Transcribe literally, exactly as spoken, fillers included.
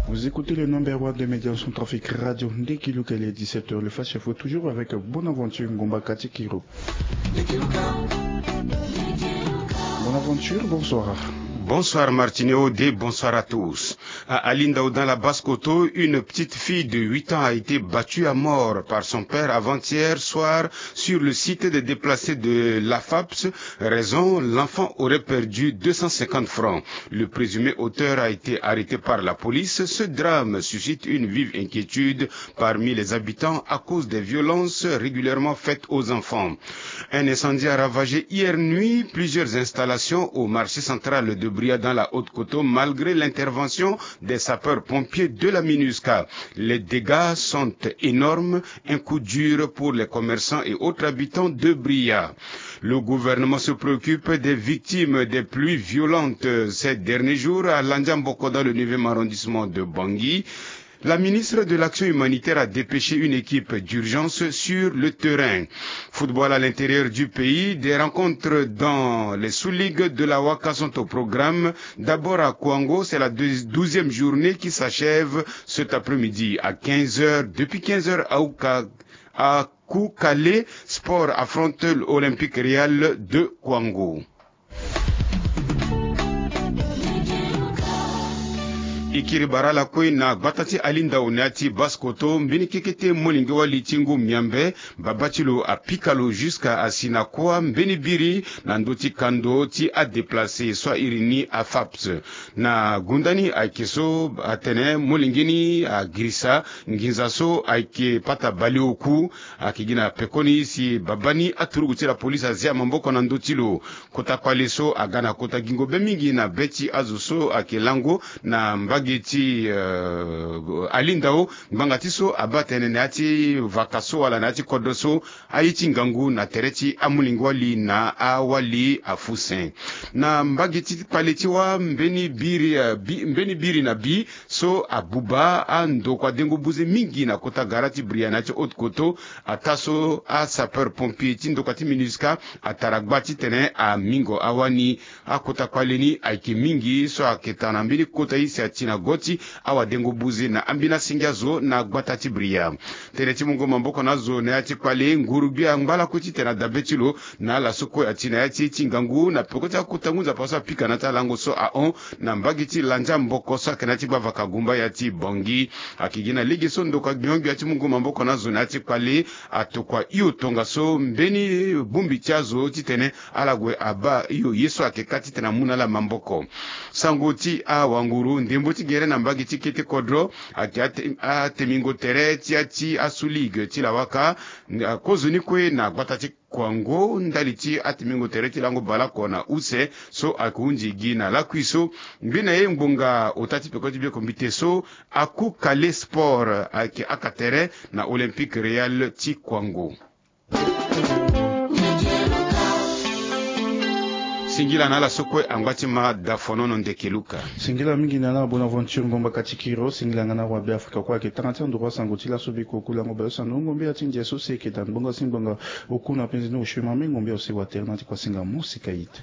Vous écoutez le number one de médias centrafrique Radio Ndekiluka, il est dix-sept heures. Le Flash Info, toujours avec Bonaventure Ngomba Katikiro. Bonaventure, bonsoir. Bonsoir Martineau, bonsoir à tous. À Alindao, dans la Basse-Koto, une petite fille de huit ans a été battue à mort par son père avant-hier soir sur le site des déplacés de l'AFAPS. Raison, l'enfant aurait perdu deux cent cinquante francs. Le présumé auteur a été arrêté par la police. Ce drame suscite une vive inquiétude parmi les habitants à cause des violences régulièrement faites aux enfants. Un incendie a ravagé hier nuit plusieurs installations au marché central de Bria dans la Haute-Koto malgré l'intervention des sapeurs-pompiers de la MINUSCA. Les dégâts sont énormes, un coup dur pour les commerçants et autres habitants de Bria. Le gouvernement se préoccupe des victimes des pluies violentes ces derniers jours à Landiamboko dans le neuvième arrondissement de Bangui. La ministre de l'Action humanitaire a dépêché une équipe d'urgence sur le terrain. Football à l'intérieur du pays, des rencontres dans les sous-ligues de la Waka sont au programme. D'abord à Kouango, c'est la deuxi-, douzième journée qui s'achève cet après-midi à quinze heures. Depuis quinze heures à Ouka-, à Koukale, Sport affronte l'Olympique Real de Kouango. E kiri bara ala kue na gbata ti Alindao na ya ti Basse-Koto, mbeni kekete molenge wali ti ngu Miambe, baba ti lo apika lo jusqu'à asi na kuâ mbeni biri na ndö ti kando ti adéplacé so a iri ni AFAPS. Na gunda ni ayeke so atene molenge ni agirisa nginza so ayeke pata baleoku, ayeke gi na pekoni si baba ni aturugu ti la police azia maboko na ndö ti lo. Kota kpale so aga na kota gingo be mingi na be ti azo so ayeke lango na mbage ti, euh, Alindao, ngbanga ti so abaa tene na ya ti vaka so wala na ya ti kodro so, aye ti ngangu na tere ti amolenge wali na awali afusen. Na mbage ti kpale ti wâ mbeni biri, euh, bi, mbeni biri na bi so abuba andokua dengo buze mingi na kota gara ti Bria na ya ti Haute-Koto, ataa so asapeur pompier ti ndokua ti MINUSCA atara gba titene amingo awani. Akota kpale ni ayeke mingi so ayeke tara na mbeni kota ye si ati na go ti awadengo buze na ambeni asenge azo na gbata ti Bria. Tënë ti mungo maboko na azo na ya ti kpale, nguru-gbia angba lakue titene adabe ti lo na ala so kue ati na ya ti ye ti ngangu na peko ti akota ngu nzapa so apika na ya ti alango so ahon na mbage ti Landiamboko so ayeke na ya ti gbavaka gumba ya ti Bangui. Ayeke gi na lege so ndokua gbia-gbia ti mungo maboko na azo na ya ti kpale atokua hio tongaso mbeni bongbi ti azo titene ala gue abaa hio ye so ayeke kâ titene amu na ala maboko. Sango ti awanguru, ndembo ti gere na mbage ti kete kodro ayeke ate-, atemingo tere ti ya ti asu ligue ti lawaka, kozoni kue na gbata ti Kouango ndali ti atemingo tere ti lango baleoko na use so ayeke hunzi gi na lakui so. Mbi na ye ngbonga ota ti peko ti biekombite so, Akoukale Sport ayeke aka tere na Olympique Real ti Kouango. Singila na ala so kue angba ti ma dafonono ndeke luka. Singila mingi na ala Bonaventure Ngomba Katikiro, singila nga na awabe Afrika kue ayeke tanga ti anduru asango ti laso biko kulango baleuse na ngongo mbia ti ndia so si eke daa ngbonga si ngbonga. Oku na penze ni osue mame ngongo mbia ose watere na ti kua singa mo sika ite.